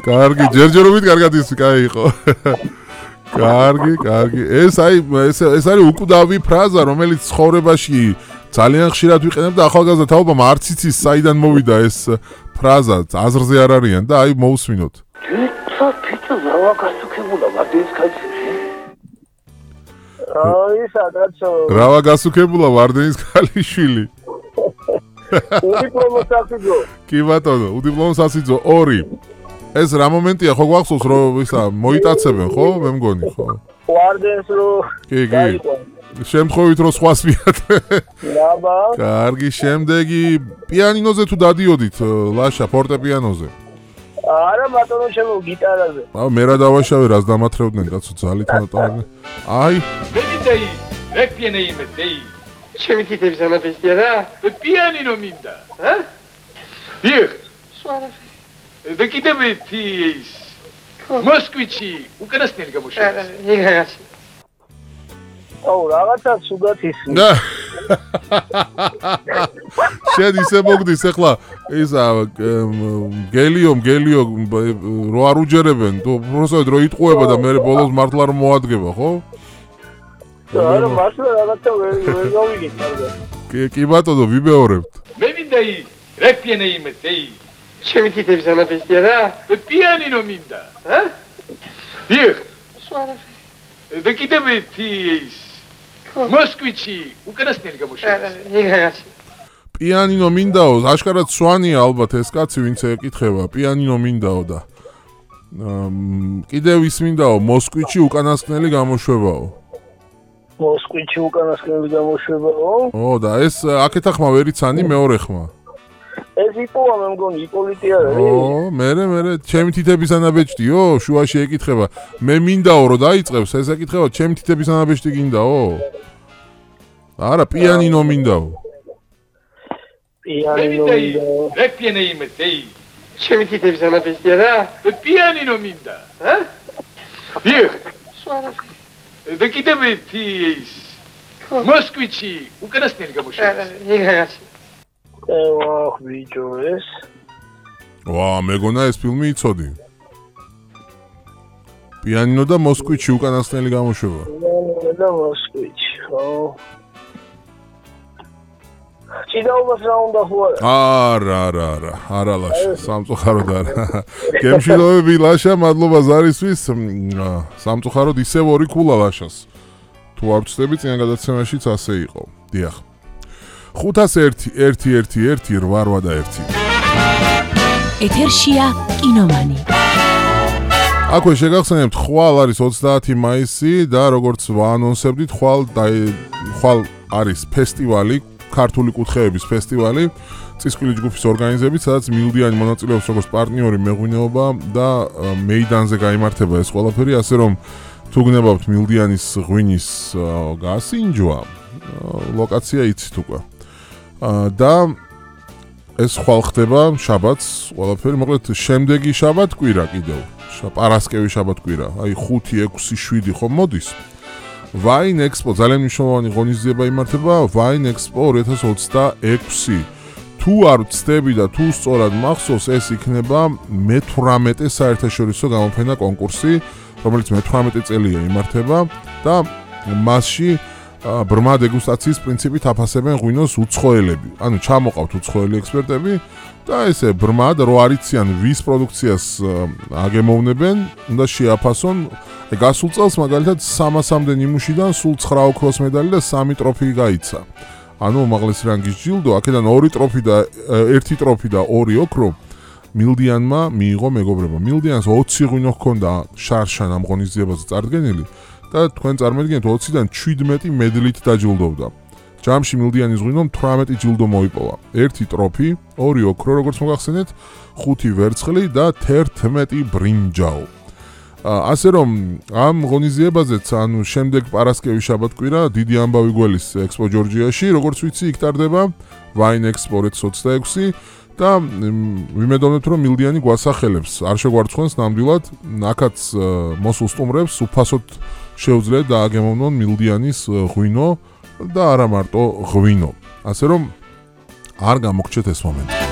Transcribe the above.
კარგი, ჯერჯერობით კარგად ის კაი იყო. კარგი. ეს არის უკვდავი ფრაზა, რომელიც ცხოვრებაში ძალიან ხშირად ვიყენებ და ახალგაზრდა თაობამ არც იცის საიდან მოვიდა ეს ფრაზა, აზრზე არ არიან და აი მოусმინოთ. ფიჭო რავა გასუქებულა ვარდენის ქალიშვილი. აი სადაცო. რავა გასუქებულა ვარდენის ქალიშვილი. უდიპლომო სასიძო. კი ბატონო, უდიპლომო სასიძო 2. ეს რა მომენტია ხო გვახსოვს რომ ისა მოიტაცებენ ხო მე მგონი ხო? ვარდენს რო კი. შემთხვევით რომ სხვას მიატყვე. დაბა. კარგი, შემდეგი პიანინოზე თუ დადიოდით, ლაშა, ფორტეპიანოზე. არა ბატონო ჩემო გიტარაზე. მე რა დავაშავე, რას დამათრევდნენ კაცო ძალით მოტარდნენ. აი. ვეიდეი, რეკპიენეი მეტეი. ჩემი თითების ამაფესტია რა? პიანინო მინდა, ჰა? დიახ. სვარა. და კიდევ ერთი ის მოსკვიჩი უკანასკნელი გამოშვება. იგრაგაც. აუ რაღაცა სუდათ ისმის. და შენ ისე მოგდის ახლა ისა გელიო რო არ უჯერებენ, უბრალოდ რო იტყუება და მე ბოლოს მართლა რომ მოადგება, ხო? არა, მართლა რაღაცა ვერ გავიგეთ კარგად. კი ბატონო, ვიბეორებთ. მე მინდა რეკპიენეი მეტეი. ჩემი თითების ამაფესტია რა? პიანინო მინდა, ჰა? დიახ. სვარა. და კიდევ ერთი ის მოსკვიჩი უკანასკნელი გამოშვება. იგრაგაც. პიანინო მინდაო, აშკარად სვანია ალბათ ეს კაცი, ვინც ეკითხება, პიანინო მინდაო და კიდევ ის მინდაო, მოსკვიჩი უკანასკნელი გამოშვებაო. მოსკვიჩი უკანასკნელი გამოშვებაო? ო და ეს აქეთა ხმა ვერ იცანი მეორე ხმა. ეს იპოვა მე მგონი იპოლიტი არის. ო, მე ჩემი თითების ანაბეჭდიო, შუაში ეკითხება. მე მინდაო რომ დაიწყებს, ეს ეკითხება, ჩემი თითების ანაბეჭდი გინდაო? არა, პიანინო მინდაო. პიანინო მინდაო. რეკპიენეი მეტეი. ჩემი თითების ამაფესტია რა? პიანინო მინდა, ჰა? დიახ. სვარა. და კიდევ ერთი ის მოსკვიჩი უკანასკნელი გამოშვება. იგრაგაც. ევახ ბიჭო ეს. ვა, მეგონა ეს ფილმი იცოდი. პიანინო და მოსკვიჩი უკანასკნელი გამოშვება. პიანინო და მოსკვიჩი, ხო. ჭიდაობას რა უნდა ხო არა? არა ლაშა, სამწუხაროდ არა. გემშილობები ლაშა, მადლობა ზარისთვის. სამწუხაროდ ისევ 2 ქულა ლაშას. თუ არ ვწდები წინა გადაცემაშიც ასე იყო. დიახ. 501-111-881. ეთერშია კინომანი. აქვე შეგახსენებთ, ხვალ არის 30 მაისი და როგორც ვაანონსებდით, ხვალ არის ფესტივალი, ქართული კუთხეების ფესტივალი, წისქვილი ჯგუფის ორგანიზებით, სადაც მილდიანი მონაწილეობს როგორც პარტნიორი მეღვინეობა და მეიდანზე გაიმართება ეს ყველაფერი, ასე რომ თუ გნებავთ მილდიანის ღვინის გასინჯვა, ლოკაცია იცით უკვე. და ეს ხვალ ხდება შაბათს, ყველაფერი, მოკლედ შემდეგი შაბათ კვირა კიდევ. პარასკევი შაბათ კვირა, აი 5, 6, 7 ხომ მოდის. Wine Expo ძალიან მნიშვნელოვანი ღონისძიება იმართება, Wine Expo 2026. თუ არ ვცდები და თუ სწორად მახსოვს, ეს იქნება მე-18 საერთაშორისო გამოფენა კონკურსი, რომელიც მე-18 წელია იმართება და მასში ბრმა დეგუსტაციის პრინციპით აფასებენ ღვინოს უცხოელები. ანუ ჩამოყავთ უცხოელი ექსპერტები და ესე ბრმა და რო არიციან ვის პროდუქციას აგემოვნებენ, უნდა შეაფასონ. გასულ წელს მაგალითად 300-მდე ნიმუშიდან სულ 9 ოქროს медаლი და 3 ტროფი გაიცა. ანუ უმაღლესი რანგის ჯილდო, აქედან 2 ტროფი და 1 ტროფი და 2 ოქრო მილდიანმა მიიღო მეგობრებო. მილდიანს 20 ღვინო ჰქონდა შარშან ამ ღონისძიებაზე წარდგენილი და თქვენ წარმოიდგინეთ 20-დან 17 მედლით დაჯილდოვდა. ჯამში მილდიანის ღვინომ 18 ჯილდო მოიპოვა. 1 ტროფი, 2 ოქრო, როგორც მოგახსენეთ, 5 ვერცხლი და 11 ბრინჯაო. ასე რომ ამ ღონისძიებაზეც, ანუ შემდეგ პარასკევი შაბათ-კვირა დიდი ამბავი გველის ექსპო ჯორჯიაში, როგორც ვიცი, იქ ტარდება Wine Expo 2026 და ვიმედოვნებთ, რომ მილდიანი გვასახელებს, არ შეგვარცხნს ნამდვილად, აქაც მოსულ სტუმრებს უფასოდ შეუძლიათ დააგემოვნონ მილდიანის ღვინო და არა მარტო ღვინო. ასე რომ არ გამოგჩეთ ეს მომენტი.